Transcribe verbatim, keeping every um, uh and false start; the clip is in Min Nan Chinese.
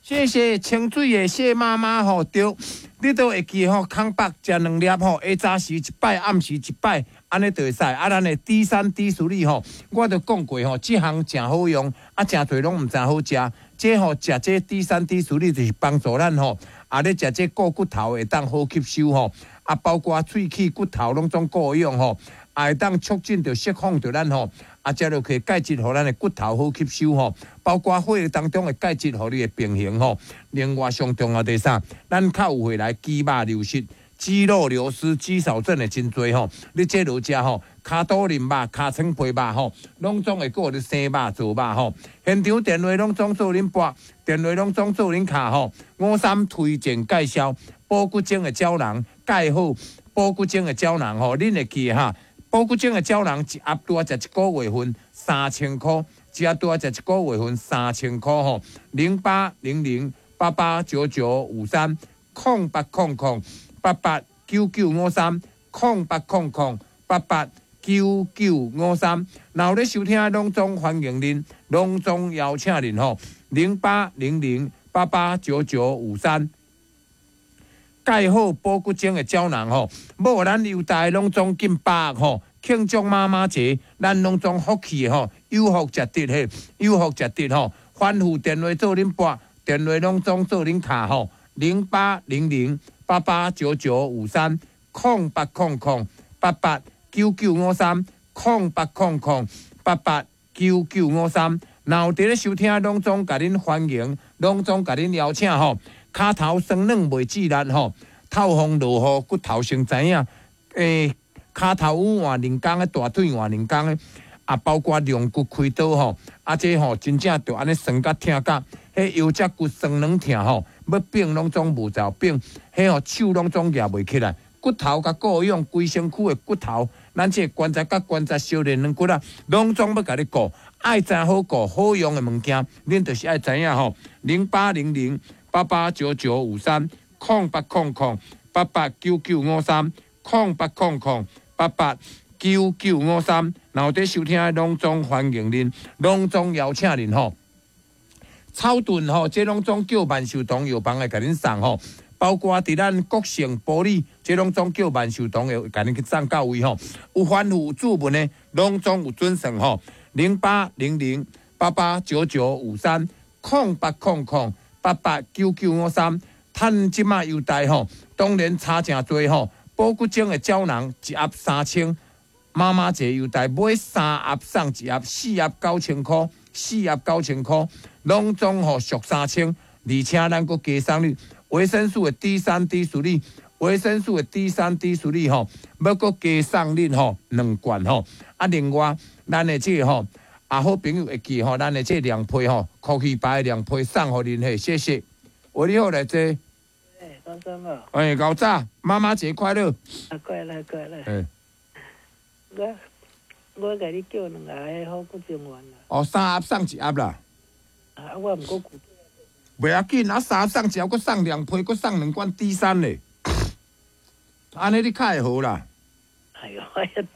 謝謝清水的謝媽媽吼，對，你都會記吼，空腹食兩粒吼，下早時一擺，暗時一擺，按呢就會使。啊，咱的 D 三 D 四吼，我都講過吼，這項誠好用，啊，誠濟攏毋知好食。這吼食這 D 三 D 四就是幫助咱吼，啊，咧食這顧骨頭會當好吸收吼，啊，包括喙齒骨頭攏總顧養吼，啊，會當促進著釋放著咱吼。啊，食落去鈣質，予咱的骨頭好吸收吼，包括血液當中的鈣質，予你會平衡吼。另外上重要第三，咱較有會來肌肉流失、肌肉流失、肌少症的真濟吼。你這落食吼，跤肚淋肉、尻川皮肉吼，攏總會閣予你生肉做肉吼。現場電話攏總做恁撥，電話攏總做恁敲吼。五三推薦介紹保骨精的膠囊，蓋好保骨精的膠囊吼，恁會記哈？保骨精的膠囊一盒拄仔食一個月份三千箍，一盒拄仔食一個月份三千箍吼，零八零零八八九九五三空八空空八八九九五三空八空空八八九九五三。若有咧收聽，攏總歡迎恁，攏總邀請恁吼，零八零零八八九九五三。蓋好保骨精的膠囊吼，無咱優待攏總近百吼，慶祝媽媽節，咱攏總福氣的吼，有福食得嘿，有福食得吼，反覆電話做恁撥，電話攏總做恁敲吼，零八零零八八九九五三空八空空八八九九五三空八空空八八九九五三，若有佇咧收聽，攏總共恁歡迎，攏總共恁邀請吼。跤頭酸軟袂致力吼，透風落雨骨頭先知影。欸，跤頭趺換兩工的，大腿換兩工的，啊，包括龍骨開刀吼，啊，這吼真正著按呢酸甲疼甲，彼腰脊骨酸軟疼吼，欲反攏總無走反，彼吼手攏總舉袂起來，骨頭共顧養，規身軀的骨頭，咱這個關節佮關節相連軟骨啊，攏總欲共你顧，愛知好顧好用的物件，恁就是愛知影吼，零八零零八八九九五三空八空空八八九九五三空八空空八八九九五三，若有佇收聽，攏總歡迎恁，攏總邀請恁吼。草屯吼，這攏總叫萬壽堂藥房會共恁送吼，包括佇咱國姓埔里，這攏總叫萬壽堂會共恁去送到位吼。有反覆有注文的，攏總有準算吼。零八零零八八九九五三空八空空八八九九五三，趁這馬優待吼，當然差誠濟吼。保骨精的膠囊一盒三千，媽媽節優待買三盒送一盒，四盒九千箍，四盒九千箍，攏總吼俗三千，而且咱閣加送你維生素的 D 三 D 四維生素的 D 三 D 四吼，欲閣加送恁吼兩罐吼。啊，另外咱的這個吼，啊好朋友會記吼，咱的這兩批吼，空氣白兩批送予恁嘿，謝謝。喂，你好，來坐。欸，講什麼？欸，𠢕早，媽媽節快樂。啊，快樂快樂。欸。我我共你叫兩盒好骨精丸啦。哦，三盒送一盒啦。啊，我毋過袂要緊，啊，三盒送一盒，閣送兩批，閣送兩罐 D 三咧。按呢你較會好啦。哎喲，遐濟。